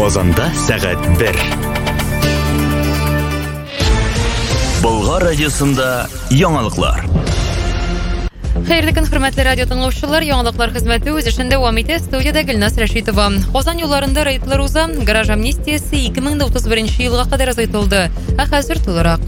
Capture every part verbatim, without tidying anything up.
Казанда сәгать бер. Болгар радиосында яңалыклар. Хәерле көн, хөрмәтле радио тыңлаучылар. Яңалыклар хезмәте үз эшен дәвам итә. Студиядә Гөлназ Рәшитова. Казан юлларында рейдлар уза. Гараж амнистиясе ике мең дә утыз беренче елга кадәр озайтылды. Ә хәзер тулырак.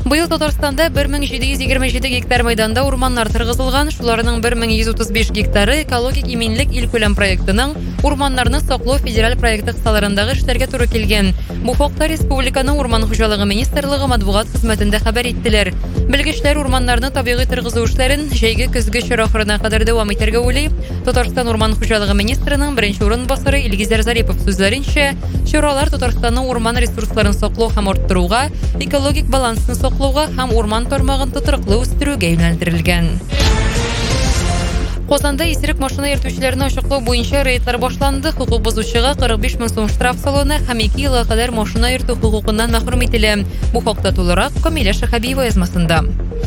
Быел Татарстанда бер мең җиде йөз егерме җиде гектар мәйданда урманнар торгызылган. Шуларның бер мең йөз утыз биш гектары экологик иминлек илкүләм проектының урманнарны саклау федераль проекты кысаларындагы эшләргә туры килгән. Бу хакта республиканың Урман хуҗалыгы министрлыгы матбугат хезмәтендә хәбәр иттеләр. Белгечләр урманнарны табигый торгызу эшләрен җәйге көзге чор ахырына кадәр дәвам итәргә уйлый. Татарстан Урман хуҗалыгы министрының беренче урынбасары Илгизәр Зарипов сүзләренчә, чаралар Татарстанның урман ресурсларын саклау һәм арттыруга, экологик балансны саклауга һәм урман тармагын тотрыклы үстерүгә юнәлдерелгән. Казанда исерек машина йөртүчеләрне ачыклау буенча рейдлар башланды. Хокук бозучыга кырык биш мең сум штраф салына һәм ике елга кадәр машина йөртү хокукыннан мәхрүм ителә. Бу хакта тулырак Камилә Шәһабиева язмасында.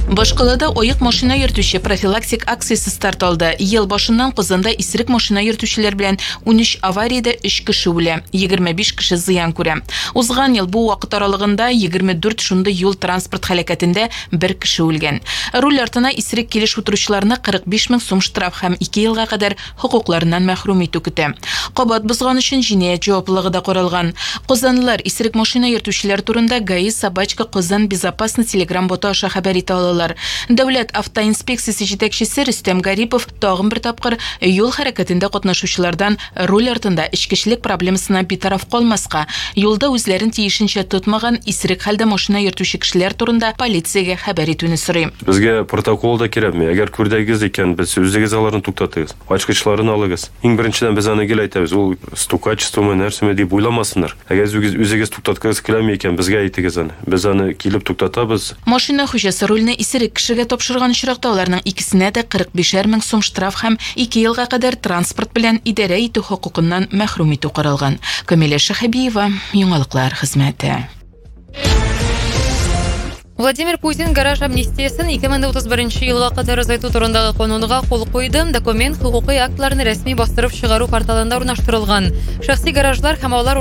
Башкалада аек машина йөртүче профилактик акциясе старт алды. Ел башыннан Казанда исерек машина йөртүчеләр белән унөч авариядә өч кеше үлә, егерме биш кеше зыян күрә. Узган ел бу вакыт аралыгында егерме дүрт шундый юл транспорт һәлакәтендә бер кеше үлгән. Руль артына исерек килеш утыручыларны кырык биш мең сум штраф һәм ике елга кадәр хокукларыннан мәхрүм итү көтә. Кабат бозган өчен җинаять җаваплылыгы да каралган. Казанлылар исерек машина йөртүчеләр турында ГАИ собачка Казан безопасно телеграм боты аша хәбәр итә алалар. Дәүләт автоинспекциясе җитәкчесе Рөстәм Гарипов тагын бер тапкыр юл хәрәкәтендә катнашучылардан руль артында эчкечелек проблемасына битараф калмаска, юлда үзләрен тиешенчә тотмаган исерек хәлдә машина йөртүче кешеләр турында полициягә хәбәр итүне сорый. Безгә протокол да кирәкми. Әгәр күрдегез икән, без үзегез аларны туктатыгыз. Ачкычларын алыгыз. Иң беренчедән без аны гел әйтәбез, ул стукачествомы, нәрсәме дип уйламасыннар. Әгәр үзегез, үзегез туктаткыгыз киләме икән, безгә әйтегез аны. Без аны килеп туктатабыз. Машина хуҗасы рульне исерек кешегә тапшырган очракта аларның икесенә дә кырык бишәр мең сум штраф һәм ике елга кадәр транспорт белән идарә итү хокукыннан мәхрүм итү каралган. Камилә Шәһабиева, Яңалыклар хезмәте. Владимир Путин гараж амнистиясен ике мең утыз беренче елга кадәр озайту турындагы канунга кул куйды. Документ хукукый актларны рәсми бастырып чыгару порталында урнаштырылган. Шәхси гаражлар һәм алар